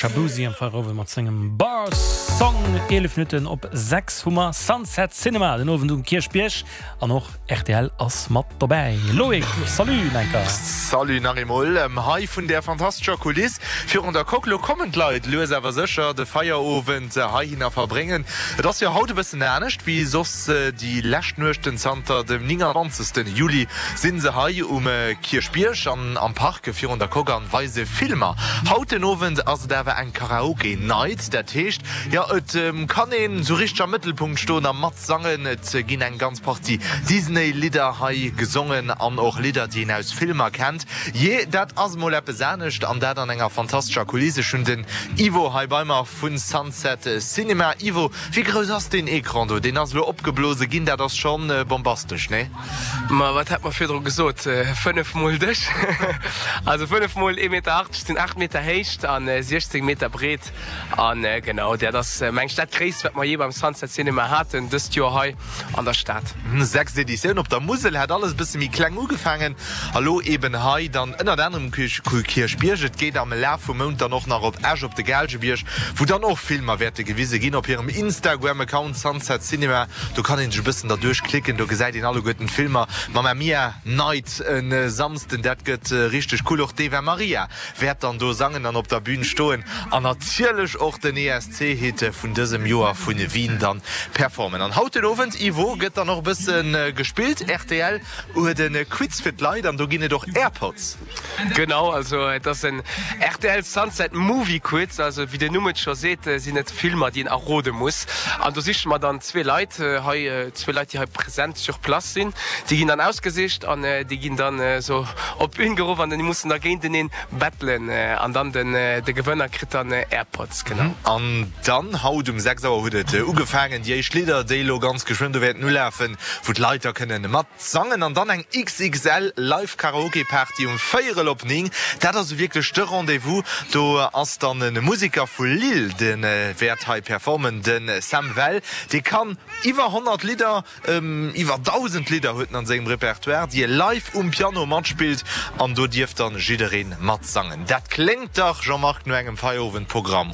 Shaboozey am Feierowend mat sengem Bar Song. 11 Minutten op 6 hu mer Sunset Cinema den Owend um Kierchbierg an och rtl ass mat dobäi. Loïc, salut Menker. Salut nach eemol hei vun där fantastescher Kuliss virun der Coque. Lo kommen d'Leit lues awer sécher de Feierowend heihinner verbréngen. Et ass jo haut e bëssen anescht wéi soss déi lescht Nuechten. Zanter dem 29. Juli sinn se hei um Kierchbierg an am Park virun der Coque an weise Filmer. Haut den Owend ass et awer eng Karaoke Night, dat heescht, jo et kann een sou richteg am Mëttelpunkt stoen a matsangen. Et ginn eng ganz Partie Disney Lidder hei gesongen an och Lidder déi een aus Filmer kennt. Jee, dat ass mol eppes anescht an dat an enger fantastescher Kuliss. Ech hunn den Ivo hei bei mer vu Sunset Cinema. Ivo, wéi grouss ass deen Ecran do? Deen ass elo opgeblose ginn, dat ass schonn bombastesch, nee? Ma wat hat mer virdru gesot? 5 mol dech. Also 5 mol 1,80 Meter sinn 8 Meter Héicht an 16 Meter breet. An genau, dat ass meng ech dat gréisst wat mer jee beim Sunset Cinema haten dëst Joer hei an der Stad. Sechst Editioun op der Musel, hat alles e bësse méi kleng ugefaangen a lo eben hei dann ënnert anerem um Kierchbierg. Et geet am Laf vum Mount dann och nach op Esch op de Gaalgebierg, wou dann och Filmer wäerte gewise ginn. Op hirem Instagram-Account Sunset Cinema, do kann een sech e bëssen derduerch klicken, do gesäit een alleguerten d'Filmer. Mamma Mia Night e Samsden, dat gëtt richteg cool. Och d'Eva Maria wäert dann do sangen an op der Bühn stoen an natierlech och den ESC-Hit vun dësem Joer vu Wien dann performen. An haut den Owend, Ivo, gëtt dann och e bësse gespillt. Rtl huet e Quiz fir d'Leit an do ginn et och Airpods. Genau, also et ass en rtl Sunset Movie Quiz, also wéi den Numm et scho seet, sinn et Filmer déi een errode muss. An do siche mer dann zwee Leit hei, zwee Leit déi hei present sur place sinn, déi ginn dann ausgesicht an déi ginn dann esou op d'Bühn geruff an déi mussen da géinteneen battelen an dann den de Gewënner kritt dann Airpods, genau. An dann haut um 6 Auer huet et ugefaangen, déi éischt Lidder déi elo ganz geschwënn do wäerten ulafen, wou d'Leit da kënnen mat sangen an dann eng XXL Live Karaoke Party um véierel op 9. Dat ass wierklech de Rendez-vous. Do ass dann e Museker vu Lille de wäert hei performen, de Sam Well. Dee kann iwwer 100 Lidder, iwwer 1.000 Lidder huet en an sengem Repertoire, déi e live um Piano matspillt an do dierf dann jiddereen matsangen. Dat kléngt dach, Jean-Marc, no engem Feierowendprogramm.